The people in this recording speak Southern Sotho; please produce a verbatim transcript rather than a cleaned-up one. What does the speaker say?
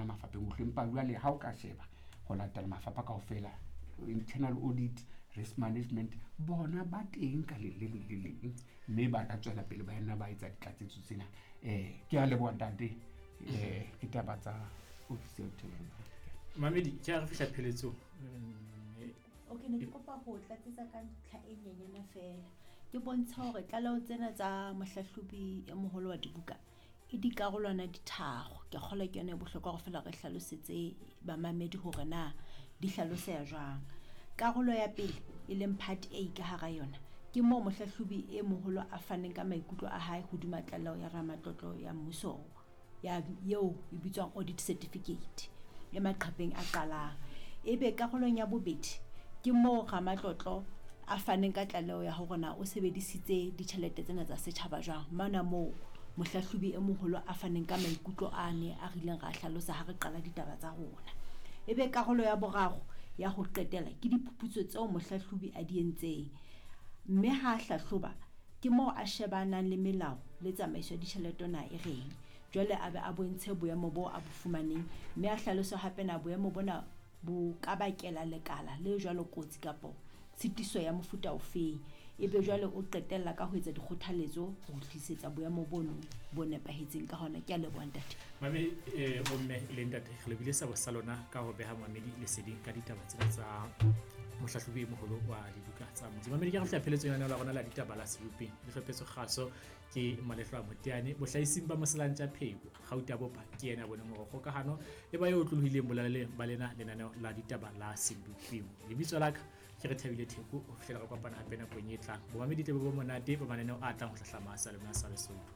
mafapheng ohle. Empa jwale ha o ka sheba ho latela mafapha kaofela, internal audit, risk management, bona ba teng ka le le leng le leng, mme ba ka tswela pele ba nna ba etsa ditlatsetso tsena. um Ke a leboha ntate. um Ke taba tsa office ya internal. Mamedi, ke a re fihla pheletsong. Mm, Okay, ne ke kopa ho tlatsetsa ka ntlha e nyenyana fela. Ke bontsha hore tlaleho tsena tsa mohlahlobi e moholo wa dibuka e dikarolwana di tharo. Ke kgolwa ke yona e bohlokwa hore feela re hlalosetse bamamedi hore na di hlaloseha jwang. Karolo ya pele e leng part A ka hara yona, ke moo mohlahlobi e moholo a faneng ka maikutlo a hae hodima tlaleho ya ramatlotlo ya mmuso ya eo e bitswang audit certificate e maqepheng a qalang. Ebe karolong ya bobedi ke moo ramatlotlo a faneng ka tlaleho ya hore na o sebedisitse ditjhelete tsena tsa setjhaba jwang. Mona moo mohlahlobi e moholo a faneng ka maikutlo ane a rileng ra hlalosa ha re qala ditaba tsa rona. Ebe karolo ya boraro ya ho qetela ke diphuputso tseo mohlahlobi a di entseng, mme ha a hlahloba ke moo a shebanang le melao le tsamaiso ya ditjhelete na e reng. Jwale a be a bontshe boemo bo a bo fumaneng, mme a hlalose hape na boemo bona bo ka bakela lekala le jwalo kotsi kapo tshitiso ya mofuta ofeng. Ebe jwale o qetella ka ho etsa dikgothaletso ho tlisetsa boemo bono bo nepahetseng ka hona. Ke a leboha ntate. Mamedi, eh, bomme le ntate, re lebile sabo sa lona ka ho beha mamedi leseding ka ditaba tsena tsa mohlahlobi e moholo wa dibuka tsa motse. Mamedi, ke re fihla pheletsong ya lenaneo la rona la ditaba la sebopeng le hlophetso kgaso ke Malehlo a Moteane, bohlahising ba Moselantja Pheko, Gauta Bopa ke yena a boneng hore kgokahano e ba e otlolohileng bolaleng ba lena lenaneo la ditaba la sebopeng. Lebitso la ka ke re Thabile Theko, ho fihlela re kopana hape nakong e tlang. Bomamedi tle bo bo monate ba mananeo a tlang ho hlahlama sa lona sa Lesotho.